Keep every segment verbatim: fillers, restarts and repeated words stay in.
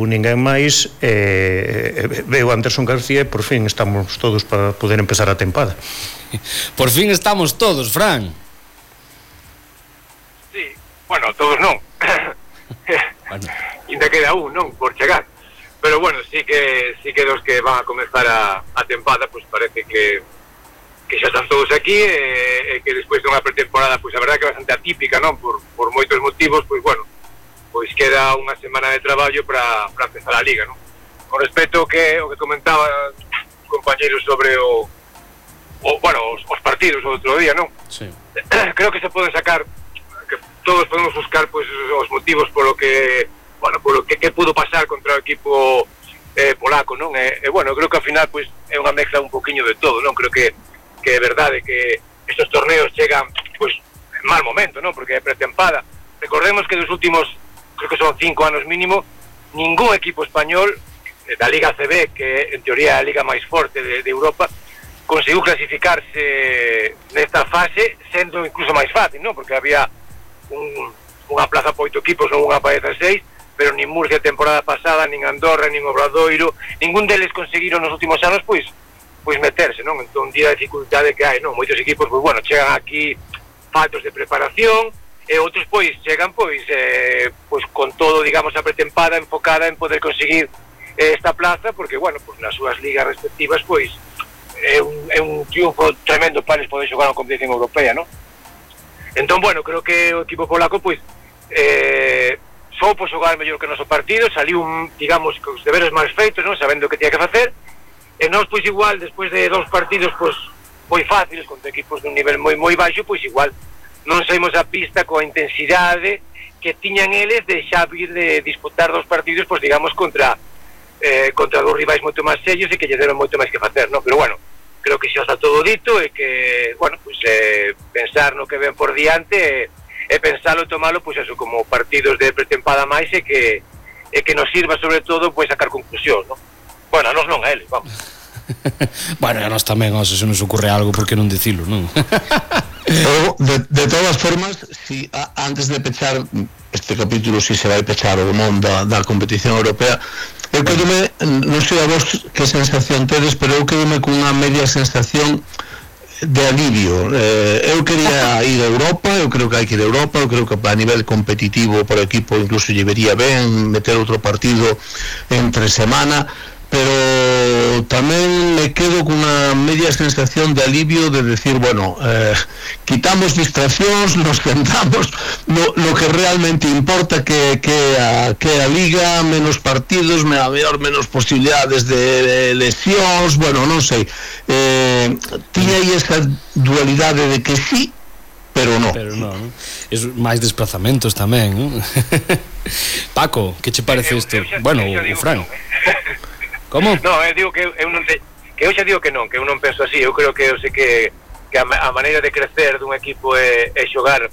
ninguén máis, e veo Anderson García e por fin estamos todos para poder empezar a tempada. Por fin estamos todos, Fran. Sí, bueno, todos non. Bueno. Ainda queda un, non, por chegar. Pero bueno, sí que sí que dos que van a comenzar a, a tempada, pues parece que que xa están todos aquí, e, e que despois de unha pretemporada, pois pues, a verdade que é bastante atípica, non? Por, por moitos motivos, pois pues, bueno, pois queda unha semana de traballo para para empezar a Liga, non? Con respecto ao que, o que comentaba os compañeros sobre o, o bueno, os, os partidos o outro día, non? Sí. Creo que se poden sacar, que todos podemos buscar pois os motivos polo que, bueno, polo que, que pudo pasar contra o equipo eh, polaco, non? E, e bueno, creo que ao final pois é unha mezcla un poquinho de todo, non? Creo que que é verdade que estes torneos chegan pois en mal momento, non? Porque é pretempada. Recordemos que dos últimos, creo que son cinco anos mínimo, ningún equipo español da Liga A C B, que en teoría é a liga máis forte de, de Europa, conseguiu clasificarse nesta fase sendo incluso máis fácil, non? Porque había un, unha plaza para oito equipos, non unha para dezasseis, pero nin Murcia a temporada pasada, nin Andorra, nin Obradoiro, ningún deles conseguiron nos últimos anos, pois, pois meterse, non? Entón, día a dificultade que hai, non? Moitos equipos, pois, bueno, chegan aquí faltos de preparación, e outros, pois, chegan, pois, eh, pois, con todo, digamos, a pretempada enfocada en poder conseguir eh, esta plaza, porque, bueno, pois, nas súas ligas respectivas, pois, é un, é un triunfo tremendo para eles poder xogar na competición europea, non? Entón, bueno, creo que o equipo polaco, pois, eh, soupo xogar mellor que o noso partido, saliu, digamos, cos deberes máis feitos, non? Sabendo o que tiña que facer. E nós, pois, igual, despois de dous partidos, pois, moi fáciles, contra equipos dun nivel moi moi baixo, pois, igual, non saímos a pista coa intensidade que tiñan eles de xa vir de disputar dos partidos, pois, digamos, contra eh, contra dos rivais moito máis serios e que lle deron moito máis que facer, non? Pero, bueno, creo que xa está todo dito e que, bueno, pois, eh, pensar no que ven por diante e, e pensalo e tomalo, pois, eso, como partidos de pretempada máis e que, e que nos sirva, sobre todo, pois, sacar conclusión, non? Bueno, a nos non, a eles, vamos. Bueno, a nos tamén, se nos ocurre algo, por que non dicilo, non? de, de todas formas, si a, antes de pechar este capítulo, si se vai pechar ou non da, da competición europea, eu quedome, non sei a vos que sensación tedes, pero eu quedome cunha media sensación de alivio. eh, eu quería ir a Europa, eu creo que hai que ir a Europa, eu creo que a nivel competitivo para o equipo incluso lle vería ben meter outro partido entre semana, pero tamén me quedo cunha media sensación de alivio de decir, bueno, eh, quitamos distraccións, nos centramos no, no que realmente importa, que, que, a, que a Liga, menos partidos, a mellor menos posibilidades de lesións, bueno, non sei, eh, tiña aí esa dualidade de que sí, pero non. Pero non, non? É máis desplazamentos tamén, non? Paco, que che parece isto? Bueno, o Fran. Como? No, eu digo que eu non te, que eu xa digo que non, que eu non penso así. Eu creo que eu sei que, que a, a maneira de crecer dun equipo é, é xogar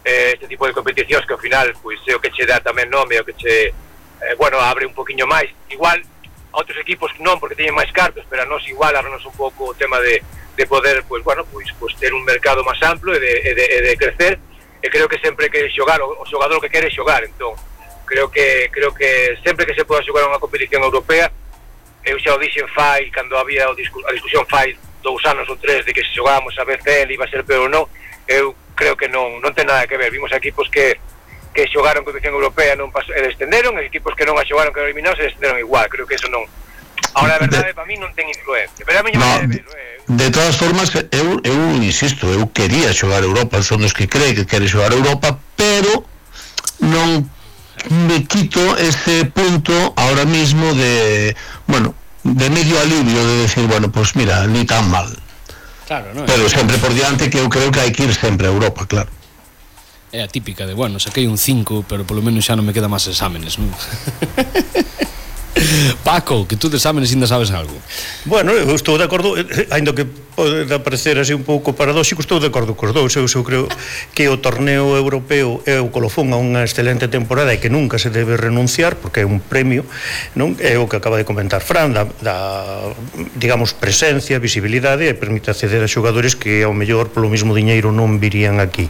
eh, este tipo de competicións que ao final, pois, é o que che dá tamén nome, o que che, eh, bueno, abre un poquinho máis. Igual a outros equipos non, porque teñen máis cartos, pero a nos igual abre-nos un pouco o tema de, de poder, pois, bueno, pois, pois ter un mercado máis amplo e de, e de, e de crecer. E creo que sempre que xogar, o, o xogador que quere xogar, entón, creo que creo que sempre que se poda xogar unha competición europea, eu xa o dixen fai, cando había o discu a discusión fai dous anos ou tres de que se xogábamos a B C L iba a ser peor ou non, eu creo que non non ten nada que ver. Vimos equipos que que xogaron competición europea non pasou, e descenderon, e equipos que non a xogaron, que eliminaron, se descenderon igual. Creo que eso non, ahora a verdade, para mí non ten influencia, pero a mí non me debe, eh. De todas formas, eu, eu insisto, eu quería xogar a Europa, son dos que cree que quere xogar a Europa, pero non me quito ese punto ahora mismo de, bueno, de medio alivio de decir, bueno, pues mira, ni tan mal. Claro, no, pero é sempre por diante que eu creo que hai que ir sempre a Europa, claro. É a típica de, bueno, saquei un cinco, pero polo menos xa non me queda máis exámenes, non? Paco, que tú de exámenes ainda sabes algo. Bueno, eu estou de acordo, ainda que pode parecer así un pouco paradóxico, estou de acordo cos dous. Eu, eu creo que o torneo europeo é o colofón a unha excelente temporada e que nunca se debe renunciar, porque é un premio, non? É o que acaba de comentar Fran, da, da digamos, presencia, visibilidade, e permite acceder a xogadores que ao mellor polo mismo diñeiro non virían aquí.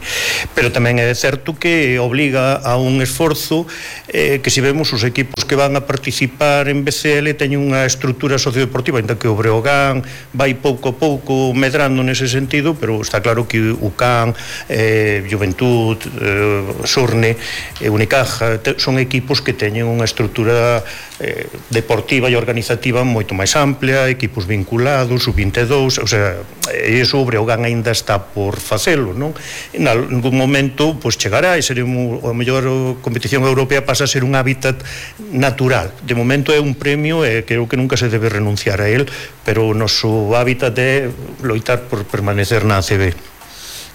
Pero tamén é certo que obliga a un esforzo eh, que se vemos os equipos que van a participar en B C L teñen unha estrutura sociodeportiva, ainda que o Breogán vai pouco a pouco medrando nese sentido, pero está claro que o C A N, eh, Juventud, eh, Surne, eh, Unicaja te, son equipos que teñen unha estrutura eh, deportiva e organizativa moito máis amplia, equipos vinculados, sub vinte e dous, o sea, e iso o Breogán ainda está por facelo, non? En algún momento, pois chegará e seremos, a mellor a competición europea pasa a ser un hábitat natural. De momento é un premio e creo que nunca se debe renunciar a él, pero o noso hábitat é loitar por permanecer na A C B.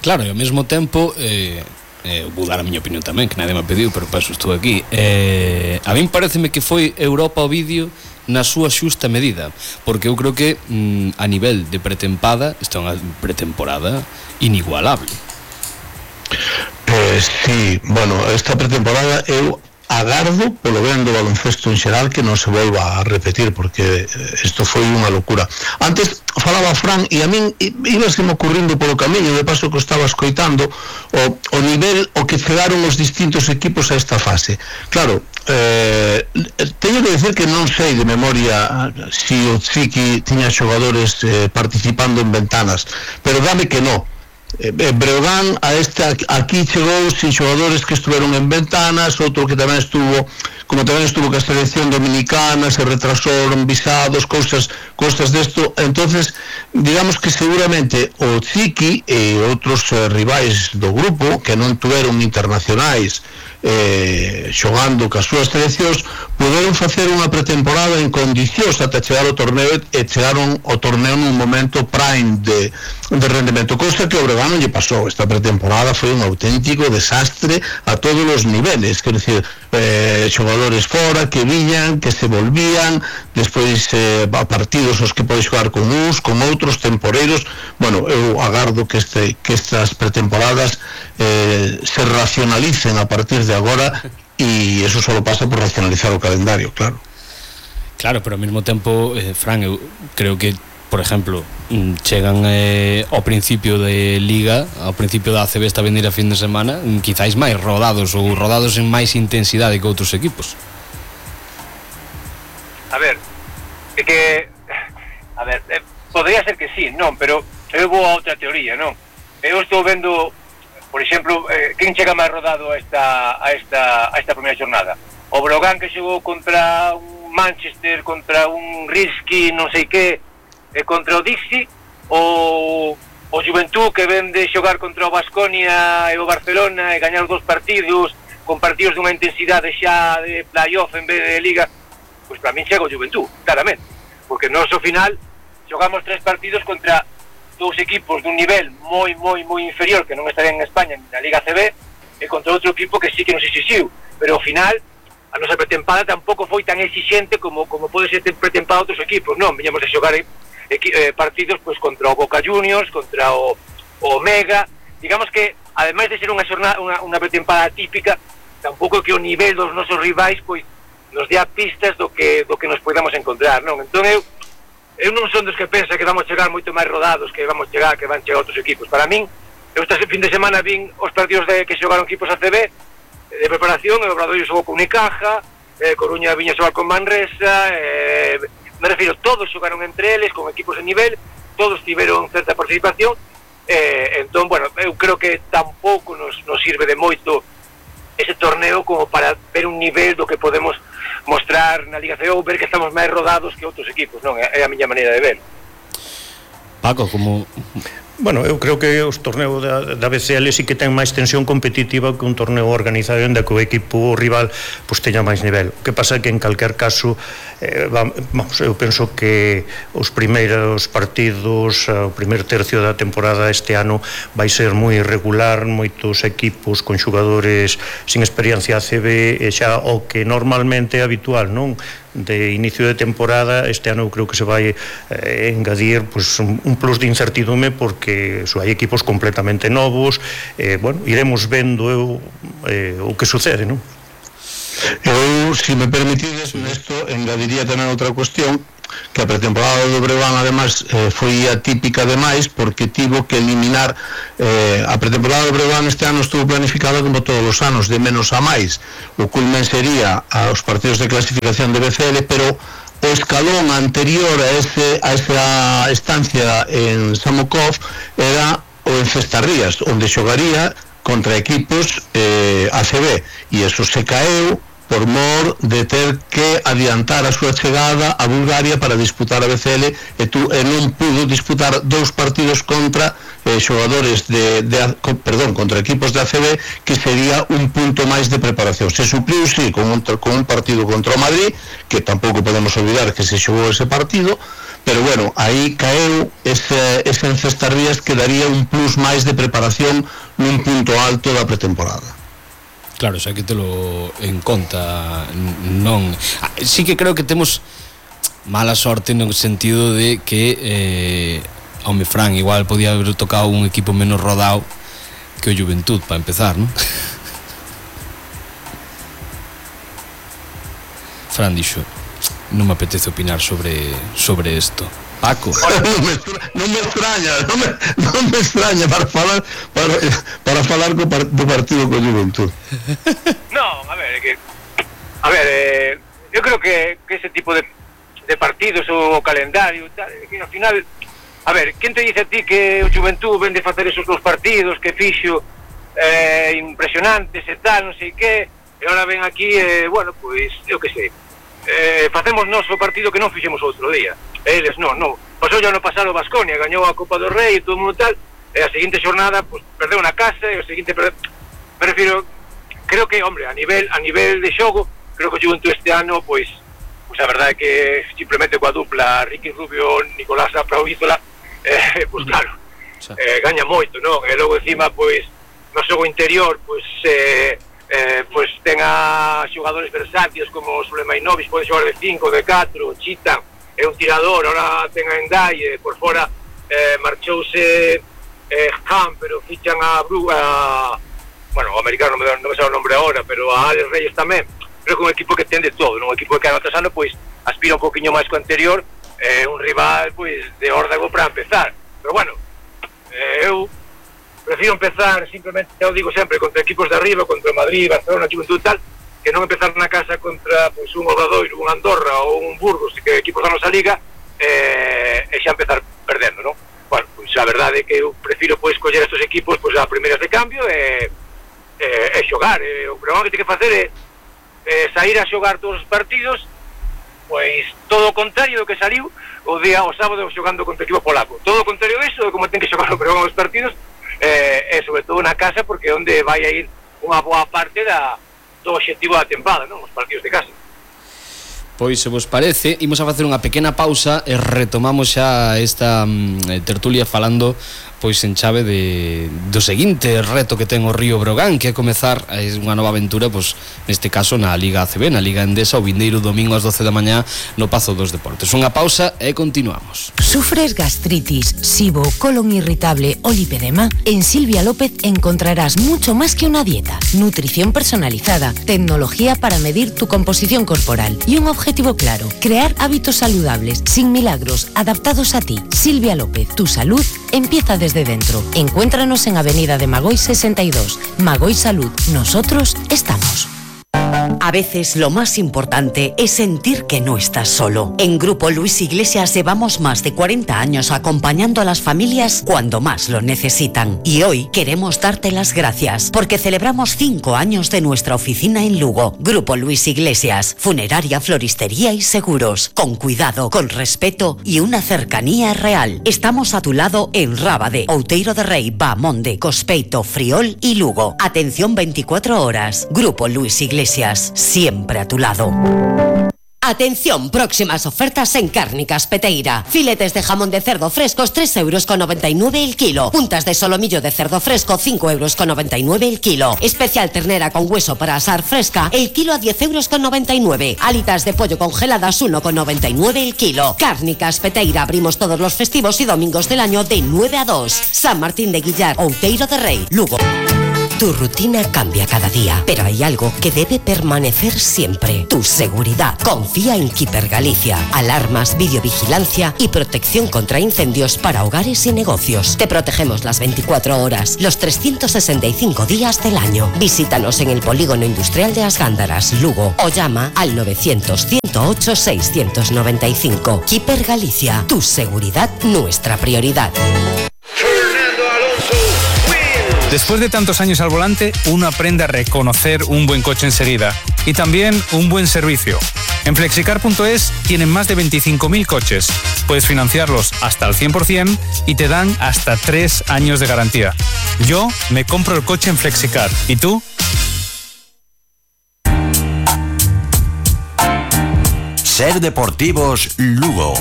Claro, e ao mesmo tempo eh, eh, vou dar a miña opinión tamén, que nadie me pediu, pero para eso estou aquí. eh, a min pareceme que foi Europa o vídeo na súa xusta medida, porque eu creo que mm, a nivel de pretempada está unha pretemporada inigualable. Pois sí, bueno, esta pretemporada eu agardo polo ben do baloncesto en xeral que non se volva a repetir, porque isto foi unha locura. Antes falaba Fran e a min ibaseme ocurrindo polo camiño, de paso que estaba escoitando o, o nivel o que chegaron os distintos equipos a esta fase. Claro, eh, teño que decir que non sei de memoria si o Ziki tiña xogadores eh, participando en ventanas, pero dame que non. Eh, Breogán a este aquí chegou sin xogadores que estuveron en ventanas, outro que tamén estuvo, como tamén estuvo que a selección dominicana, se retrasaron visados, cousas cousas desto. Entonces, digamos que seguramente o Ziki e outros eh, rivais do grupo que non tuveron internacionais eh, xogando cas súas seleccións, poderon facer unha pretemporada en condicións ata chegar ao torneo e chegaron ao torneo nun momento prime de, de rendemento, cousa que o Breogán non lle pasou. Esta pretemporada foi un auténtico desastre a todos os niveles, quer dizer, eh, xogadores fora que viñan, que se volvían, despois eh, a partidos os que pode xogar con uns, con outros temporeiros. Bueno, eu agardo que, este, que estas pretemporadas eh, se racionalicen a partir de agora, e eso só pasa por racionalizar o calendario, claro. Claro, pero ao mesmo tempo, eh, Fran, eu creo que, por exemplo, chegan eh, ao principio de Liga, ao principio da A C B esta venir a fin de semana, quizáis máis rodados ou rodados en máis intensidade que outros equipos. A ver, é que a ver, eh, podría ser que sí, non, pero eu vou a outra teoría, non? Eu estou vendo, por exemplo, eh, quen chega máis rodado a esta a esta a esta primeira jornada? O Breogán, que xogou contra un Manchester, contra un Risky, non sei que, e contra o Dixi, o o Juventud, que ven de xogar contra o Baskonia e o Barcelona e gañar os dos partidos con partidos dunha intensidade xa de playoff en vez de Liga. Pois para min chega o Juventud, claramente, porque nós ao final xogamos tres partidos contra dous equipos dun nivel moi, moi, moi inferior, que non estarían en España na Liga C B, e contra outro equipo que sí que nos exixiu, pero ao final a nosa pretempada tampouco foi tan exixente como como pode ser pretempada outros equipos, non, viñamos a xogar eh, partidos pois contra o Boca Juniors, contra o, o Omega, digamos que ademais de ser unha xornada, unha, unha pretempada típica, tampouco que o nivel dos nosos rivais pois nos dea pistas do que do que nos podamos encontrar, non? Entón eu eu non son dos que pensa que vamos chegar moito máis rodados, que vamos chegar, que van chegar outros equipos. Para min, eu este fin de semana vin os partidos de que xogaron equipos A C B de preparación, e o Obradoiro xogou con Unicaja, eh, Coruña viña xogar con Manresa, eh, me refiro, todos xogaron entre eles, con equipos de nivel, todos tiveron certa participación, eh, entón, bueno, eu creo que tampouco nos, nos sirve de moito ese torneo como para ver un nivel do que podemos mostrar na Liga C B, ou ver que estamos máis rodados que outros equipos, non? É a miña maneira de ver. Paco, como... Bueno, eu creo que os torneos da, da B C L sí que ten máis tensión competitiva que un torneo organizado onde que o equipo rival pues, teña máis nivel. O que pasa é que en calquer caso eh, vamos, eu penso que os primeiros partidos, o primer tercio da temporada este ano vai ser moi irregular, moitos equipos con xogadores sin experiencia A C B, e xa o que normalmente é habitual, non? de inicio de temporada, este ano eu creo que se vai eh, engadir pues, un, un plus de incertidume porque so, hai equipos completamente novos, eh, bueno, iremos vendo eu, eh, o que sucede, non? Eu, se me permitides, nesto engadiría tamén outra cuestión, que a pretemporada do Breogán ademais eh, foi atípica demais porque tivo que eliminar eh, a pretemporada do Breogán este ano estuvo planificada como todos os anos, de menos a máis. O culmen sería aos partidos de clasificación de B C L, pero o escalón anterior a, ese, a esa estancia en Samokov era o en Cestarrías, onde xogaría contra equipos eh, A C B, e eso se caeu por mor de ter que adiantar a súa chegada a Bulgaria para disputar a B C L e, tu, e non pudo disputar dous partidos contra eh, xogadores de, de perdón, contra equipos de A C B, que sería un punto máis de preparación. Se supliu, sí, con un, con un partido contra o Madrid, que tampouco podemos olvidar que se xogou ese partido, pero bueno, aí caeu ese, ese en Cestarrías que daría un plus máis de preparación nun punto alto da pretemporada. Claro, xa que telo en conta, non... Ah, sí que creo que temos mala sorte no sentido de que eh, home, Fran, igual podía haber tocado un equipo menos rodado que o Juventud, para empezar, non? Fran dixo, non me apetece opinar sobre sobre isto. Paco. Non me, non me extraña, non me, non me extraña para falar para, para falar co par, do partido co Juventud. No, a ver, que a ver, eh, yo creo que, que ese tipo de, de partidos o calendario tal, que al final, a ver, quen te dice a ti que o Juventud vende facer esos dos partidos que fixo eh, impresionantes e tal, non sei que, e ahora ven aquí, eh, bueno, pois, eu que sei, eh, facemos noso partido que non fixemos outro día. Eles non, non. Pasou ya no pasado Baskonia, gañou a Copa do Rei e todo o mundo tal, e a seguinte xornada pues, perdeu na casa e o seguinte perdeu. Me refiro, creo que, hombre, a nivel a nivel de xogo, creo que o Juventud este ano, pois, pues, a verdade é que simplemente coa dupla Ricky Rubio, Nicolás Apravízola, eh, pois claro, eh, gaña moito, non? E logo encima, pois, no xogo interior, pois, eh, eh, pois ten a xogadores versátiles como Sulemainovic, pode xogar de cinco, de catro, Chita, é un tirador, ahora ten a Endaye, por fora eh, marchouse eh, Ham, pero fichan a Bru, a, bueno, o americano non me, non me sabe o nombre agora, pero a Alex Reyes tamén. Creo que un equipo que ten de todo, non? Un equipo que ano tras ano, pois, aspira un poquinho máis co anterior, eh, un rival, pois, de órdago para empezar. Pero bueno, eh, eu prefiro empezar simplemente, eu digo sempre, contra equipos de arriba, contra Madrid, Barcelona, Juventud tal, que non empezar na casa contra pois, un Obradoiro, un Andorra ou un Burgos, que equipos da nosa liga, eh, e xa empezar perdendo, non? Bueno, pois a verdade é que eu prefiro pois coller estes equipos pois a primeiras de cambio e, e, e xogar. E, o problema que ten que facer é, é sair a xogar todos os partidos, pois todo o contrario do que saliu o día o sábado xogando contra o equipo polaco. Todo o contrario disso, de como ten que xogar o programa dos partidos, eh, e sobre todo na casa, porque é onde vai a ir unha boa parte da do obxectivo da tempada, non? Os partidos de casa. Pois, se vos parece, imos a facer unha pequena pausa e retomamos xa esta mm, tertulia falando pois en chave de, do seguinte reto que ten o Río Breogán, que é comezar é unha nova aventura, pois neste caso na Liga A C B, na Liga Endesa, o vindeiro domingo ás doce da mañá no Pazo dos Deportes. Unha pausa e continuamos. ¿Sufres gastritis, SIBO, colon irritable o lipedema? En Silvia López encontrarás mucho más que una dieta, nutrición personalizada, tecnología para medir tu composición corporal y un objetivo claro, crear hábitos saludables, sin milagros, adaptados a ti. Silvia López, tu salud empieza desde dentro. Encuéntranos en Avenida de Magoy sesenta y dos. Magoy Salud, nosotros estamos. A veces lo más importante es sentir que no estás solo. En Grupo Luis Iglesias llevamos más de cuarenta años acompañando a las familias cuando más lo necesitan. Y hoy queremos darte las gracias porque celebramos cinco años de nuestra oficina en Lugo. Grupo Luis Iglesias, funeraria, floristería y seguros. Con cuidado, con respeto y una cercanía real. Estamos a tu lado en Rábade, Outeiro de Rei, Bamonde, Cospeito, Friol y Lugo. Atención veinticuatro horas. Grupo Luis Iglesias, siempre a tu lado. Atención, próximas ofertas en Cárnicas Peteira. Filetes de jamón de cerdo frescos, tres euros con noventa y nueve el kilo. Puntas de solomillo de cerdo fresco, cinco euros con noventa y nueve el kilo. Especial ternera con hueso para asar fresca, el kilo a diez euros con noventa y nueve. Alitas de pollo congeladas, uno con noventa y nueve el kilo. Cárnicas Peteira, abrimos todos los festivos y domingos del año de nueve a dos. San Martín de Guillar, Outeiro de Rei, Lugo. Tu rutina cambia cada día, pero hay algo que debe permanecer siempre: tu seguridad. Confía en Keeper Galicia. Alarmas, videovigilancia y protección contra incendios para hogares y negocios. Te protegemos las veinticuatro horas, los trescientos sesenta y cinco días del año. Visítanos en el Polígono Industrial de As Gándaras, Lugo, o llama al novecientos, ciento ocho, seiscientos noventa y cinco. Keeper Galicia. Tu seguridad, nuestra prioridad. Después de tantos años al volante, uno aprende a reconocer un buen coche enseguida y también un buen servicio. En flexicar punto es tienen más de veinticinco mil coches. Puedes financiarlos hasta el cien por ciento y te dan hasta tres años de garantía. Yo me compro el coche en Flexicar. ¿Y tú? Ser Deportivos Lugo.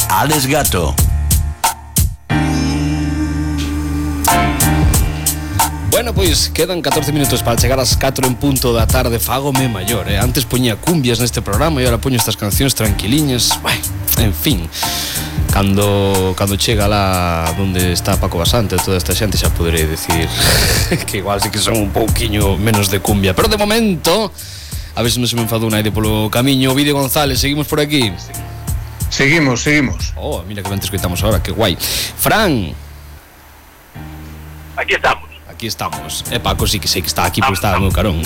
Alex Gato. Bueno, pois quedan catorce minutos para chegar ás catro en punto da tarde. Fágome maior, eh? Antes poñía cumbias neste programa e agora poño estas cancións tranquiliñas. Bueno, en fin, cando cando chega lá onde está Paco Basante, toda esta xente xa poderei decir que igual sí que son un pouquiño menos de cumbia. Pero de momento, a ver se non se me enfadou naide polo camiño. Ovidio González, seguimos por aquí. Seguimos, seguimos. Oh, mira que ben te escoitamos ahora, que guai. Fran. Aquí estamos. Aquí estamos. E Paco sí que sei que está aquí, porque está no meu carón.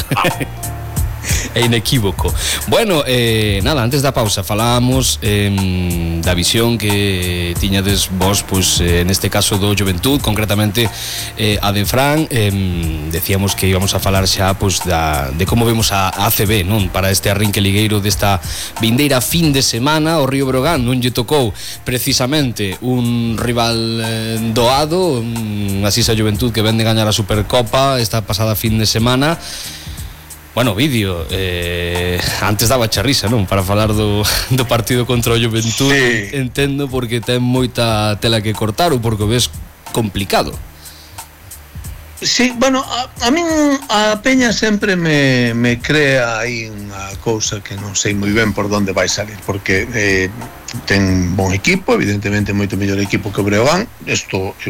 É inequívoco. Bueno, eh, nada, antes da pausa falábamos eh, da visión que tiñades vos, pois, eh, neste caso do Juventud, concretamente eh, a de Fran. eh, Decíamos que íbamos a falar xa, pois, da, de como vemos a, a A C B, non? Para este arrinque ligueiro desta vindeira fin de semana. O Río Breogán non lle tocou precisamente un rival eh, doado, un, así a Juventud que vende gañar a Supercopa esta pasada fin de semana. Bueno, vídeo, eh, antes daba charrisa, non? Para falar do, do partido contra o Juventud. Sí. Entendo porque ten moita tela que cortar ou porque o ves complicado. Sí, bueno, a, a min a Peña sempre me, me crea aí unha cousa que non sei moi ben por onde vai salir, porque eh, ten bon equipo, evidentemente moito mellor equipo que o Breogán. Isto eh,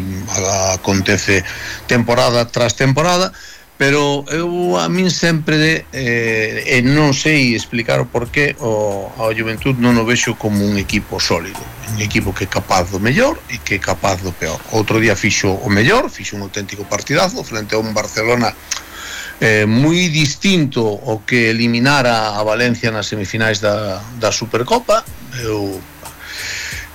acontece temporada tras temporada, pero eu a min sempre eh, e non sei explicar o porqué o, a Juventud non o vexo como un equipo sólido, un equipo que é capaz do mellor e que é capaz do peor. Outro día fixo o mellor, fixo un auténtico partidazo frente a un Barcelona eh, moi distinto ao que eliminara a Valencia nas semifinais da, da Supercopa. Eu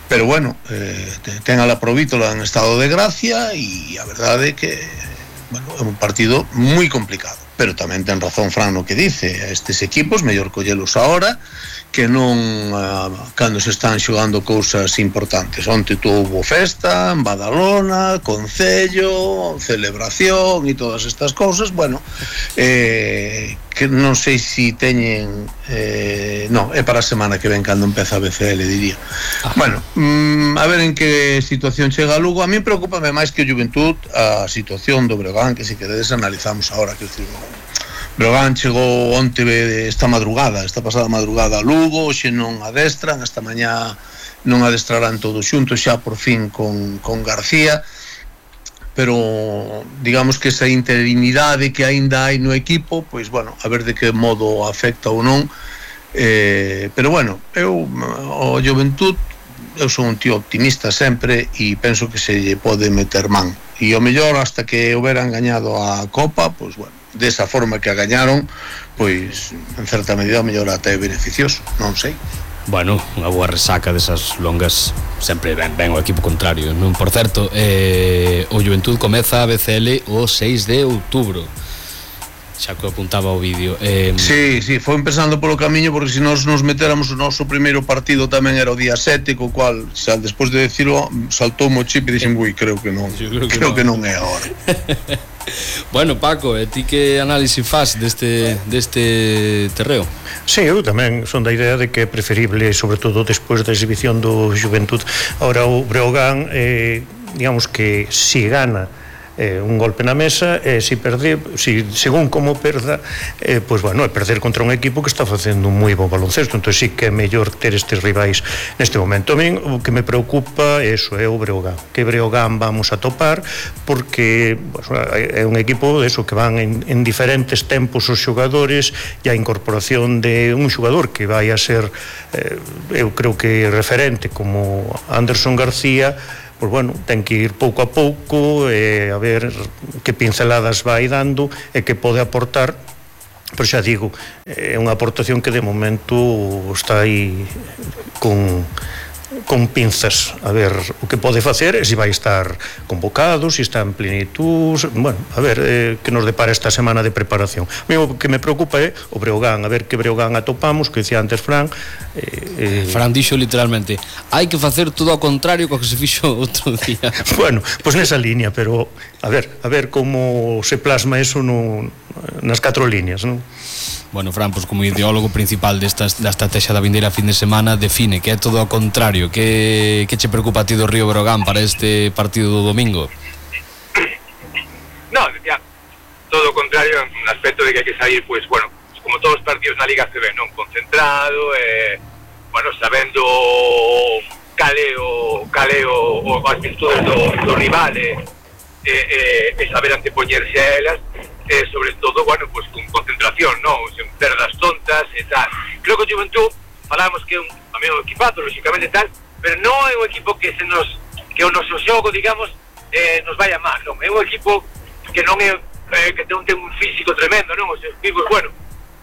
pero bueno, eh, ten a la Provítola en estado de gracia e a verdade é que bueno, é un partido moi complicado, pero tamén ten razón Fran no que dice. Estes equipos mellor collelos ahora que non uh, cando se están xogando cousas importantes. Onte tuvo festa en Badalona, concello, celebración e todas estas cousas. Bueno, eh, que non sei se si teñen eh, non, é para a semana que ven cando empeza a B C L, diría. Ah. Bueno, mm, a ver en que situación chega a Lugo. A mí preocúpame máis que o Juventud a situación do Breogán, que se queredes analizamos ahora, que decir, Breogán chegou onte esta madrugada, esta pasada madrugada a Lugo, xe non adestran, esta mañá non adestrarán todos xuntos xa por fin con, con García, pero digamos que esa interinidade que aínda hai no equipo, pois bueno, a ver de que modo afecta ou non, eh, pero bueno, eu o Juventud, eu son un tío optimista sempre e penso que se lle pode meter man, e o mellor hasta que houberan gañado a Copa, pois bueno, desa forma que a gañaron, pois en certa medida mellor até é beneficioso, non sei. Bueno, unha boa resaca desas longas sempre ben, ben o equipo contrario, non? Por certo, eh, o Juventud comeza a B C L o seis de outubro. xa que apuntaba o vídeo. Eh, Sí, sí, foi empezando polo camiño, porque se nós nos metéramos o noso primeiro partido tamén era o día sete, co cual, xa despois de decirlo, saltou o chip e dixen, ui, creo que non, creo que, creo que non é agora. Bueno, Paco, e ti que análise faz deste, deste terreo? Sí, eu tamén son da idea de que é preferible, sobre todo despois da exhibición do Xuventud. Ahora o Breogán, eh, digamos que si gana eh, un golpe na mesa, e eh, si perde, si, según como perda, eh, pois, bueno, é perder contra un equipo que está facendo un moi bo baloncesto. Entón sí que é mellor ter estes rivais neste momento. A min o que me preocupa é eso, é o Breogán, que Breogán vamos a topar, porque pues, é un equipo de eso, que van en, en diferentes tempos os xogadores, e a incorporación de un xogador que vai a ser eh, eu creo que referente como Anderson García, pois bueno, ten que ir pouco a pouco e a ver que pinceladas vai dando e que pode aportar. Pero xa digo, é unha aportación que de momento está aí con con pinzas, a ver o que pode facer, e se vai estar convocado, se está en plenitud, bueno, a ver eh, que nos depara esta semana de preparación. O que me preocupa é o Breogán, a ver que Breogán atopamos, que dicía antes Fran. Eh, eh... Fran dixo literalmente, hai que facer todo ao contrario co que se fixo outro día. Bueno, pois pues nesa línea, pero a ver, a ver como se plasma eso no, nas catro líneas, non? Bueno, Fran, pues como ideólogo principal desta da estrategia da vindeira fin de semana, define que é todo ao contrario. Que, que che preocupa a ti do Río Breogán para este partido do domingo? No, ya, todo o contrario, en un aspecto de que hai que sair, pues, bueno, como todos os partidos na Liga C B, non? Concentrado, eh, bueno, sabendo cale o, cale o, o as virtudes do, do rival, e eh, eh, eh, saber antepoñerse a elas, eh, sobre todo, bueno, pues con concentración, non? Sen perdas tontas e tal. Creo que o Juventud, falamos que é un, a mí un equipazo, lógicamente tal, pero non é un equipo que se nos, que o noso xogo, digamos, eh, nos vaya mal, non? É un equipo que non é, eh, que non ten un físico tremendo, non? Os equipos, bueno,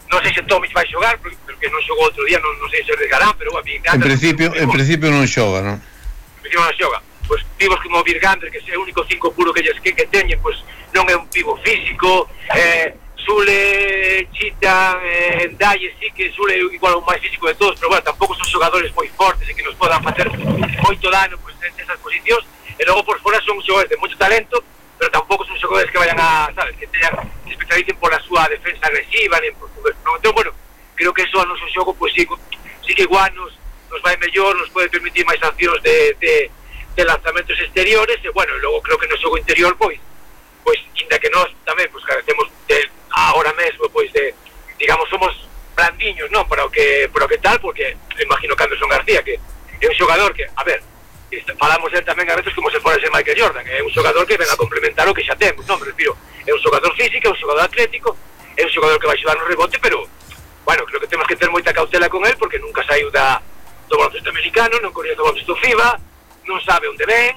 non sei se Tomic vai xogar, porque, porque non xogou outro día, non, non sei se regarán, pero bueno, en principio, en principio non xoga, non? En principio non xoga. Pois pibos como Virgander, que é o único cinco puro que, que, que teñen, pois non é un pivo físico. eh, Sule, Chita, eh, Ndaye, sí que Sule é igual o máis físico de todos, pero bueno, tampouco son xogadores moi fortes e que nos podan facer moito dano pois, en esas posicións. E logo por fora son xogadores de moito talento, pero tampouco son xogadores que vayan a, sabes, que teñan, que especialicen por a súa defensa agresiva, nem por tudo. Entón, bueno, creo que eso a noso xogo, pois sí, sí que igual nos, nos vai mellor, nos pode permitir máis accións de, de de lanzamentos exteriores, e bueno, logo creo que no xogo interior, pois, pois, inda que nós tamén, pois, carecemos de, ahora mesmo, pois, de, digamos, somos blandiños, non, para o que, para o que tal, porque imagino que Anderson García, que é un xogador que, a ver, falamos del tamén a veces como se fora ese Michael Jordan, é un xogador que ven a complementar o que xa temos, non, me respiro, é un xogador físico, é un xogador atlético, é un xogador que vai xudar no rebote, pero, bueno, creo que temos que ter moita cautela con él, porque nunca saiu da, do baloncesto americano, non coñece o baloncesto FIBA, non sabe onde ven,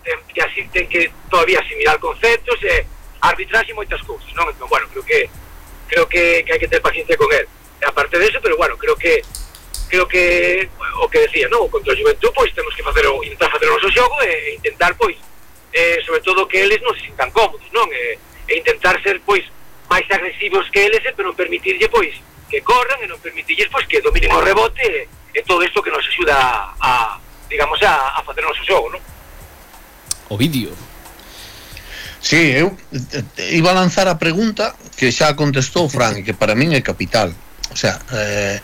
ten, que así ten que todavía asimilar conceptos e arbitraxe e moitas cousas, non? Entón, bueno, creo que creo que, que hai que ter paciencia con él. E aparte de eso, pero bueno, creo que creo que o que decía, non? Contra o Juventud, pois temos que facer o, intentar facer o noso xogo e, e intentar, pois, eh, sobre todo que eles non se sintan cómodos, non? E, e intentar ser, pois, máis agresivos que eles, pero non permitirlle, pois, que corran e non permitirles, pois, que dominen o rebote e, e todo isto que nos axuda a digamos, a, a facer o noso xogo, non? O vídeo. Sí, eu iba a lanzar a pregunta que xa contestou Fran, e que para min é capital. O sea, eh,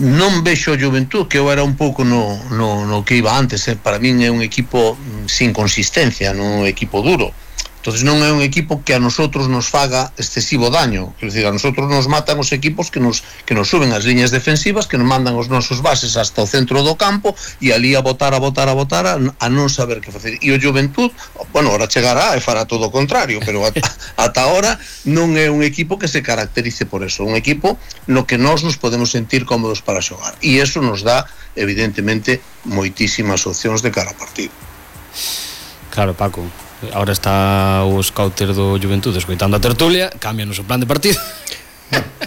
non vexo o Juventud, que eu era un pouco no, no, no que iba antes, eh. Para min é un equipo sin consistencia, non un equipo duro. Entonces non é un equipo que a nosotros nos faga excesivo daño. Quer dizer, a nosotros nos matan os equipos que nos, que nos suben as liñas defensivas, que nos mandan os nosos bases hasta o centro do campo e ali a botar, a botar, a botar a, a non saber que facer. E o Juventud, bueno, ahora chegará e fará todo o contrario, pero ata, ata ahora non é un equipo que se caracterice por eso. Un equipo no que nós nos podemos sentir cómodos para xogar. E eso nos dá, evidentemente, moitísimas opcións de cara a partido. Claro, Paco. Ahora está o scouter do Juventud escoitando a tertulia, cámbianos o plan de partido.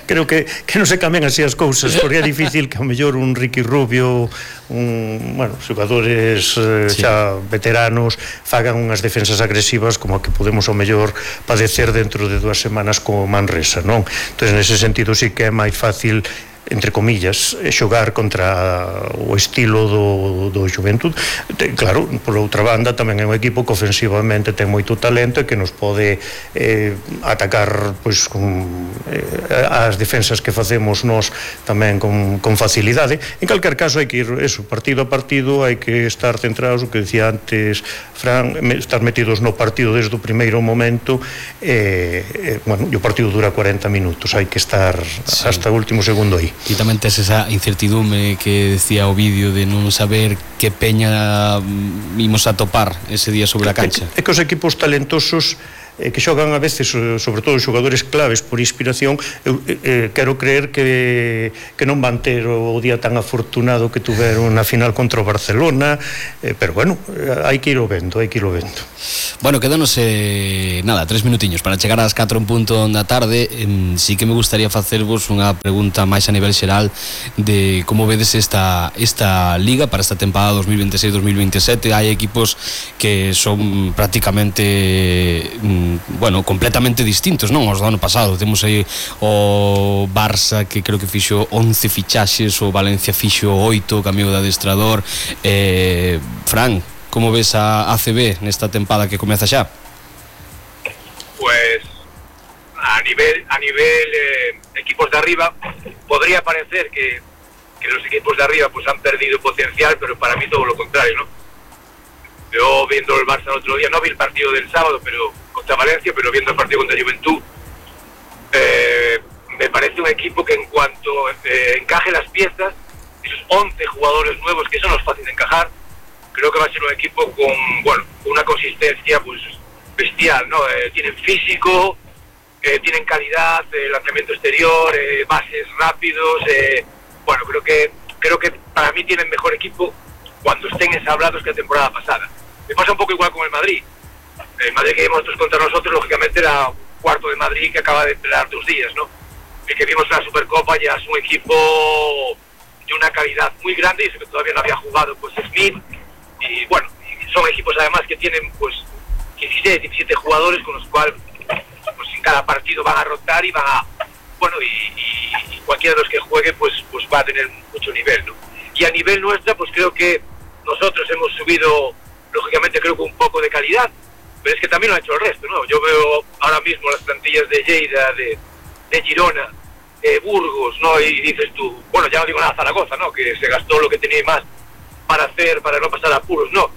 Creo que, que non se cambian así as cousas, porque é difícil que ao mellor un Ricky Rubio, un, bueno, xogadores eh, sí. xa veteranos fagan unhas defensas agresivas como a que podemos ao mellor padecer dentro de dúas semanas co Manresa, non? Entón, nese sentido sí que é máis fácil, entre comillas, xogar contra o estilo do, do Xuventud. Claro, por outra banda tamén é un equipo que ofensivamente ten moito talento e que nos pode eh, atacar pois, con, eh, as defensas que facemos nós tamén con, con facilidade. En calquer caso hai que ir eso, partido a partido, hai que estar centrados, o que decía antes Fran, estar metidos no partido desde o primeiro momento. eh, eh, bueno, e o partido dura cuarenta minutos, hai que estar sí. hasta o último segundo aí. E tamén tes esa incertidume que decía o vídeo de non saber que peña imos a topar ese día sobre a cancha. É que os equipos talentosos eh, que xogan a veces, sobre todo os xogadores claves por inspiración, eu eh, quero creer que, que non van ter o día tan afortunado que tuveron na final contra o Barcelona, eh, pero bueno, hai que ir o vendo, hai que ir o vendo. Bueno, quedanos eh, nada, tres minutiños para chegar ás catro en punto da tarde. eh, sí que me gustaría facervos unha pregunta máis a nivel xeral de como vedes esta, esta liga para esta temporada dos mil veintiséis dos mil veintisiete. Hai equipos que son prácticamente bueno, completamente distintos, non? Os do ano pasado temos aí o Barça que creo que fixo once fichaxes, o Valencia fixo oito, cambiou de adestrador. eh, Fran, como ves a A C B nesta tempada que comeza xa? Pues a nivel a nivel eh, equipos de arriba podría parecer que, que los equipos de arriba pues han perdido potencial, pero para mí todo lo contrario, ¿no? Yo viendo el Barça el otro día, no vi el partido del sábado pero contra Valencia, pero viendo el partido contra Juventud, eh, me parece un equipo que en cuanto eh, encaje las piezas, esos once jugadores nuevos que son los fáciles de encajar, creo que va a ser un equipo con, bueno, una consistencia pues bestial, ¿no? Eh, tienen físico, eh, tienen calidad, eh, lanzamiento exterior, eh, bases rápidos, eh, bueno, creo que creo que para mí tienen mejor equipo cuando estén ensablados que la temporada pasada. Me pasa un poco igual con el Madrid. El Madrid que vimos nosotros contra nosotros, lógicamente era un cuarto de Madrid que acaba de esperar dos días, ¿no? El que vimos en la Supercopa ya es un equipo de una calidad muy grande, y eso que todavía no había jugado pues Smith, y bueno, son equipos además que tienen pues dieciséis, diecisiete jugadores con los cuales pues en cada partido van a rotar y van a, bueno, y, y, y cualquiera de los que juegue pues, pues va a tener mucho nivel, ¿no? Y a nivel nuestra pues creo que nosotros hemos subido, lógicamente creo que un poco de calidad, pero es que también lo ha hecho el resto, ¿no? Yo veo ahora mismo las plantillas de Lleida, de, de Girona, de Burgos, ¿no? Y dices tú, bueno, ya no digo nada Zaragoza, ¿no? Que se gastó lo que tenía más para hacer, para no pasar apuros, ¿no?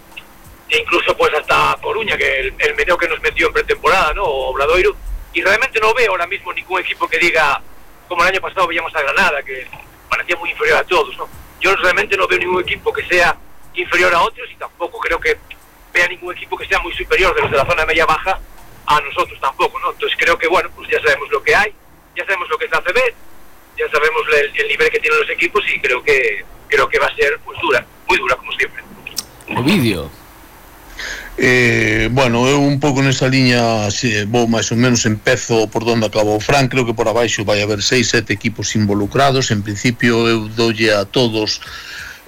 E incluso pues hasta Coruña, que el, el meneo que nos metió en pretemporada, ¿no? O Obradoiro, y realmente no veo ahora mismo ningún equipo que diga, como el año pasado veíamos a Granada, que parecía muy inferior a todos, ¿no? Yo realmente no veo ningún equipo que sea inferior a otros, y tampoco creo que vea ningún equipo que sea muy superior de los de la zona media-baja a nosotros tampoco, ¿no? Entonces creo que, bueno, pues ya sabemos lo que hay, ya sabemos lo que es la A C B, ya sabemos el, el nivel que tienen los equipos, y creo que creo que va a ser pues dura, muy dura como siempre. Ovidio. Eh, bueno, eu un pouco nesa liña, si, vou máis ou menos, empezo por donde acabou Fran. Creo que por abaixo vai haber seis, sete equipos involucrados. En principio eu doulle a todos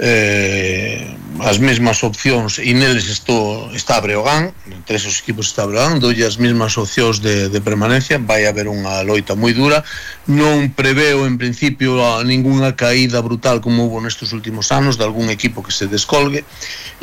eh, as mesmas opcións, e neles estou, está Breogán, entre esos equipos está Breogán, doulle as mesmas opcións de, de permanencia. Vai haber unha loita moi dura. Non preveo en principio a ninguna caída brutal como hubo nestes últimos anos de algún equipo que se descolgue,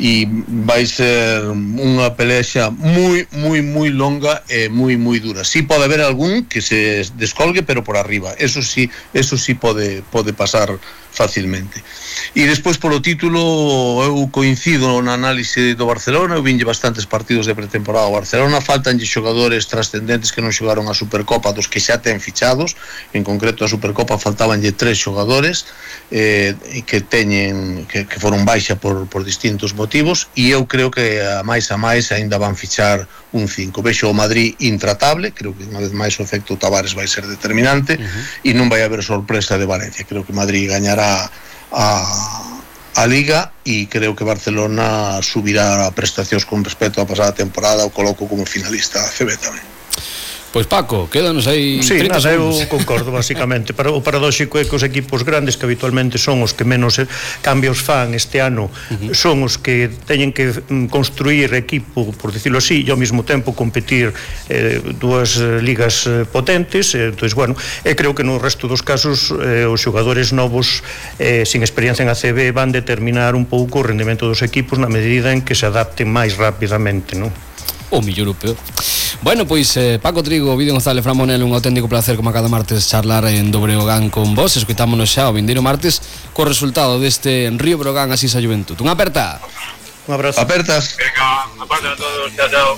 e vai ser unha pelexa moi, moi, moi longa e moi, moi dura. Si pode haber algún que se descolgue, pero por arriba, eso sí, eso sí pode, pode pasar facilmente. E despois polo título eu coincido na análise do Barcelona. Eu vinlle bastantes partidos de pretemporada ao Barcelona, faltanlle xogadores trascendentes que non xogaron a Supercopa dos que xa ten fichados. En concreto a Supercopa faltabanlle tres xogadores eh, que teñen que, que foron baixa por, por distintos motivos, e eu creo que a máis a máis ainda van fichar un cinco. Vexo o Madrid intratable, creo que unha vez máis o efecto Tavares vai ser determinante, uh-huh. E non vai haber sorpresa de Valencia. Creo que Madrid gañará a, a Liga, e creo que Barcelona subirá a prestacións con respecto á pasada temporada. O coloco como finalista a C B tamén. Pois Paco, quédanos aí sí, trinta nada, segundos. eu concordo basicamente. Para, o paradóxico é que os equipos grandes, que habitualmente son os que menos cambios fan este ano, uh-huh. son os que teñen que construir equipo, por dicirlo así, e ao mesmo tempo competir eh, dúas eh, ligas eh, potentes. eh, entón, bueno, e creo que no resto dos casos eh, os xogadores novos eh, sin experiencia en A C B van determinar un pouco o rendimento dos equipos na medida en que se adapten máis rapidamente, non? O millor europeo. Bueno, pois eh, Paco Trigo, Ovidio González, Fran Monel, un auténtico placer como a cada martes charlar en do Breogán con vos. Escoitámonos xa o vindeiro martes co resultado deste Río Breogán Asís a Juventud. Unha aperta. Un abrazo. Apertas. Venga, aperta a todos, chao, chao.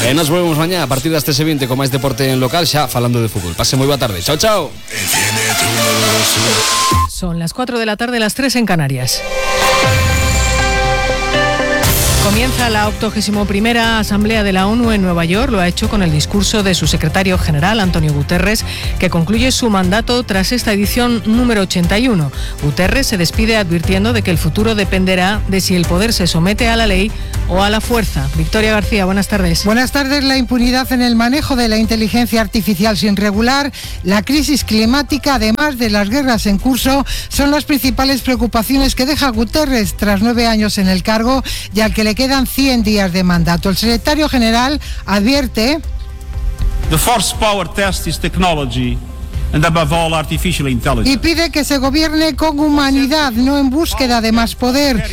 E nos volvemos mañá a partir das trece e vinte con máis deporte en local, xa falando de fútbol. Pase moi boa tarde. Chao, chao. Son las cuatro de la tarde, las tres en Canarias. Comienza la octogésima primera Asamblea de la ONU en Nueva York. Lo ha hecho con el discurso de su secretario general, Antonio Guterres, que concluye su mandato tras esta edición número ochenta y uno. Guterres se despide advirtiendo de que el futuro dependerá de si el poder se somete a la ley o a la fuerza. Victoria García, buenas tardes. Buenas tardes. La impunidad en el manejo de la inteligencia artificial sin regular, la crisis climática, además de las guerras en curso, son las principales preocupaciones que deja Guterres tras nueve años en el cargo y al que le quedan cien días de mandato. El secretario general advierte: The first power test is technology and above all artificial intelligence. Y pide que se gobierne con humanidad, no en búsqueda de más poder.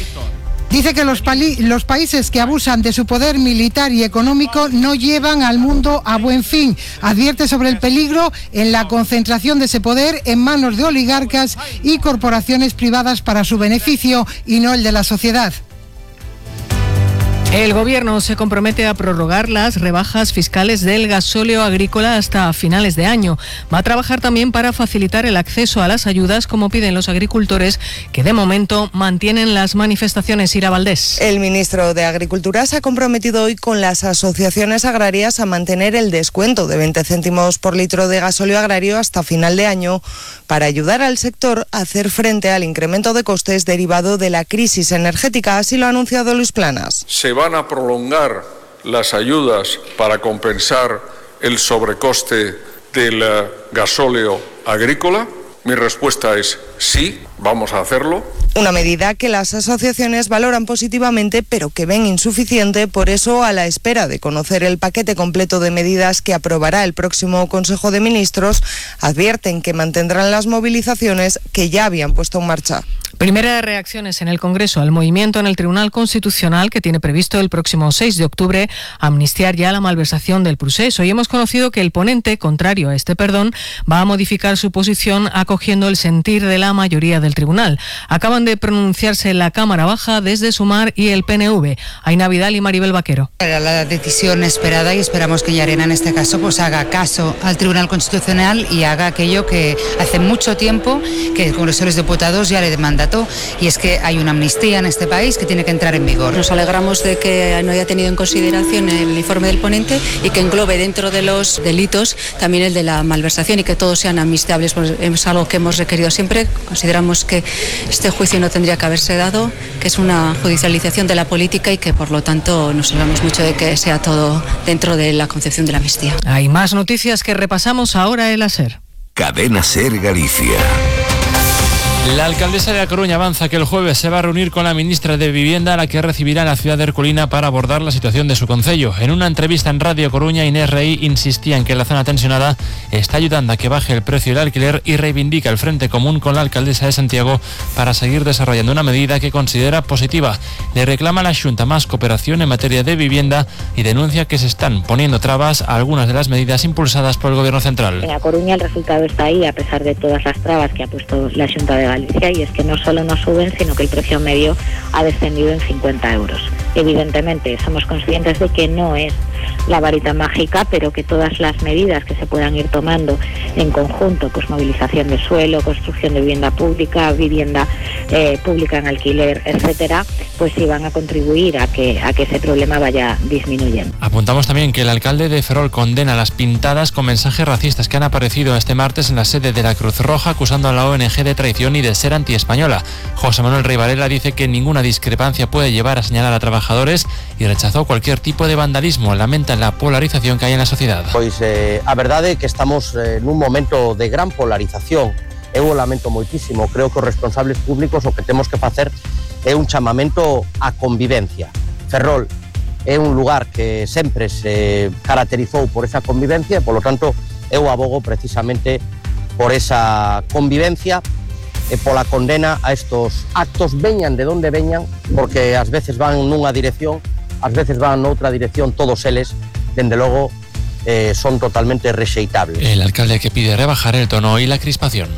Dice que los, pali- los países que abusan de su poder militar y económico no llevan al mundo a buen fin. Advierte sobre el peligro en la concentración de ese poder en manos de oligarcas y corporaciones privadas para su beneficio y no el de la sociedad. El Gobierno se compromete a prorrogar las rebajas fiscales del gasóleo agrícola hasta finales de año. Va a trabajar también para facilitar el acceso a las ayudas, como piden los agricultores, que de momento mantienen las manifestaciones. Ira Valdés. El ministro de Agricultura se ha comprometido hoy con las asociaciones agrarias a mantener el descuento de veinte céntimos por litro de gasóleo agrario hasta final de año, para ayudar al sector a hacer frente al incremento de costes derivado de la crisis energética. Así lo ha anunciado Luis Planas. Se van a prolongar las ayudas para compensar el sobrecoste del gasóleo agrícola. Mi respuesta es sí, vamos a hacerlo. Una medida que las asociaciones valoran positivamente, pero que ven insuficiente. Por eso, a la espera de conocer el paquete completo de medidas que aprobará el próximo Consejo de Ministros, advierten que mantendrán las movilizaciones que ya habían puesto en marcha. Primeras reacciones en el Congreso al movimiento en el Tribunal Constitucional, que tiene previsto el próximo seis de octubre amnistiar ya la malversación del Prusés. Hoy hemos conocido que el ponente, contrario a este perdón, va a modificar su posición acogiendo el sentir de la mayoría del tribunal. Acaban de pronunciarse la Cámara Baja desde Sumar y el P N V. Aina Vidal y Maribel Vaquero. Era la decisión esperada y esperamos que Llarena en este caso pues haga caso al Tribunal Constitucional y haga aquello que hace mucho tiempo que el Congreso de los Diputados ya le demanda, y es que hay una amnistía en este país que tiene que entrar en vigor. Nos alegramos de que no haya tenido en consideración el informe del ponente y que englobe dentro de los delitos también el de la malversación y que todos sean amnistiables. Pues es algo que hemos requerido siempre. Consideramos que este juicio no tendría que haberse dado, que es una judicialización de la política y que por lo tanto nos alegramos mucho de que sea todo dentro de la concepción de la amnistía. Hay más noticias que repasamos ahora en la SER. Cadena SER Galicia. La alcaldesa de A Coruña avanza que el jueves se va a reunir con la ministra de Vivienda, a la que recibirá en la ciudad de Ercolina para abordar la situación de su concello. En una entrevista en Radio Coruña, Inés Rey insistía en que la zona tensionada está ayudando a que baje el precio del alquiler y reivindica el frente común con la alcaldesa de Santiago para seguir desarrollando una medida que considera positiva. Le reclama a la Xunta más cooperación en materia de vivienda y denuncia que se están poniendo trabas a algunas de las medidas impulsadas por el Gobierno central. En A Coruña el resultado está ahí, a pesar de todas las trabas que ha puesto la Xunta de Galicia, y es que no solo no suben, sino que el precio medio ha descendido en cincuenta euros. Evidentemente, somos conscientes de que no es la varita mágica, pero que todas las medidas que se puedan ir tomando en conjunto, pues movilización de suelo, construcción de vivienda pública, vivienda eh, pública en alquiler, etcétera, pues sí van a contribuir a que, a que ese problema vaya disminuyendo. Apuntamos también que el alcalde de Ferrol condena las pintadas con mensajes racistas que han aparecido este martes en la sede de la Cruz Roja, acusando a la O N G de traición y de ser antiespañola. José Manuel Rey Varela dice que ninguna discrepancia puede llevar a señalar a trabajadores y rechazó cualquier tipo de vandalismo. La lamentan la polarización que hay en la sociedad. Pois eh, a verdade é que estamos eh, nun momento de gran polarización. Eu o lamento moitísimo. Creo que os responsables públicos o que temos que facer é un chamamento á convivencia. Ferrol é un lugar que sempre se caracterizou por esa convivencia e, polo tanto, eu abogo precisamente por esa convivencia e pola condena a estos actos, veñan de donde veñan, porque ás veces van nunha dirección, ás veces van noutra dirección, todos eles, dende logo, eh, son totalmente rexeitables. El alcalde que pide rebajar el tono y la crispación.